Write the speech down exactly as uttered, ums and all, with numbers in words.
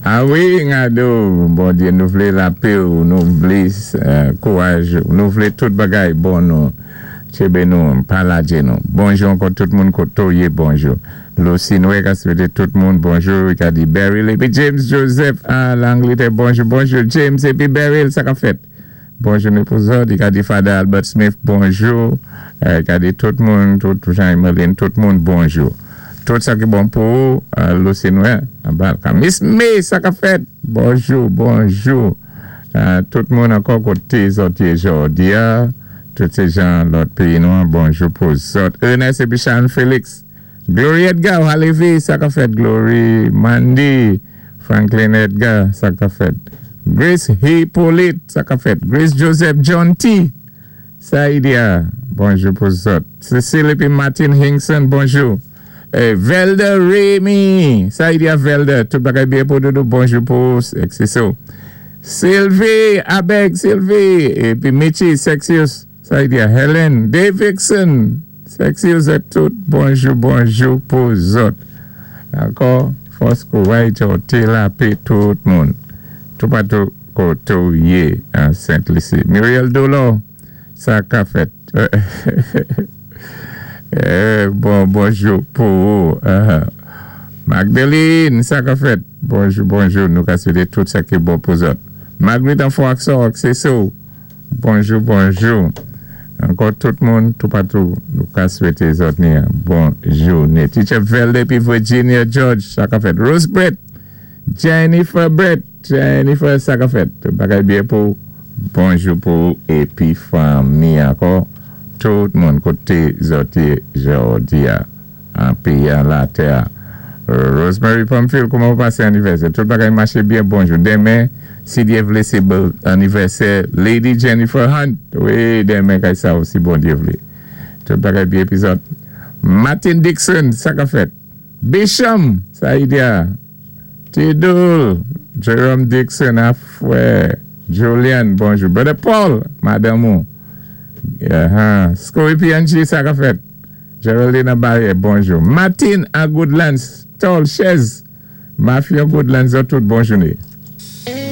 A wi, Ngado, Bondyé, nou vlé lapè ou, nou vlé kouwaj ou, nou vlé tout bagay bon nou, tjenbé nou, pa lajé nou. Bonjou ankò tout moun koto yé, bonjou. Lucy Noé ka swété tout moun bonjou, ka di Beryl, épi James Joseph a Langletè, bonjou, bonjou James, épi Beryl, sa ka fèt. Bonjou nou pou zòt, i ka di Father Albert Smith, bonjou, ka di tout moun, tout Jean-Emeline, tout moun, bonjou. Tout sa ki bon pou Lucy Noé, Miss May, sa ka fèt, bonjou, bonjou. Tout moun ankò koté zòt yé jòdi a, tout sé jan lòt péyi nou, bonjou pou zòt. Ernest épi Sharon Félix, Glory Edgar, Halevi, sa ka fèt, Glory, Mandy, Franklin Edgar, sa ka fèt. Grace Hippolyte, sa ka fèt. Grace Joseph John T. Saïdia, bonjou pou zòt. Cecile épi Martin Hinkson, bonjou. Velda Remy, Saïdia Velda, tout bagay byen pou doudou, bonjou pou Exciso. Sylvie, Abeg, Sylvie, épi Michi, Sexius, Saïdia, Helen, Davidson, Sexius et tout, bonjou, bonjou pou zòt. Ankò, fòs kouway jòté lapè tout moun. Toupatou koto yé an Saint-Lucie. Muriel Dolo, sa ka fèt. Bon, bonjou pou ou. Magdalene, sa ka fèt. Bonjou, bonjou, nou ka swété tout sa ki bon pou zòt. Marguerite Anfo ak Seso. Bonjou, bonjou. Ankò tout moun, toupatou, nou ka swété zòt ni bon jouné. Teacher Velde pi Virginia George, sa ka fèt. Rose Brett, Jennifer Brett, Jennifer, sa ka fèt. Tout bagay byen pou, bonjou pou, épi fanmi ankò. Tout moun koté zòt yé jòdi a, an péyi an latè. Rosemary Pamphile, kouman ou pasé anivèsè? Tout bagay maché byen, bonjou. Denmen, si Dye vlé, sé anivèsè Lady Jennifer Hunt. Wi, denmen kay sa osi Bondyé vlé. Tout bagay byen épi zòt. Martin Dixon, sa ka fèt. Bisham, sa idea. Tidul, Jerome Dixon, Afwe, Julian, bonjou. Brother Paul, madanm ou. Uh-huh. Skoui P N G, sa ka fèt. Geraldine Barrier, bonjou. Martin a Goodlands, Tol Chez, Mafia Goodlands, tout bonjou.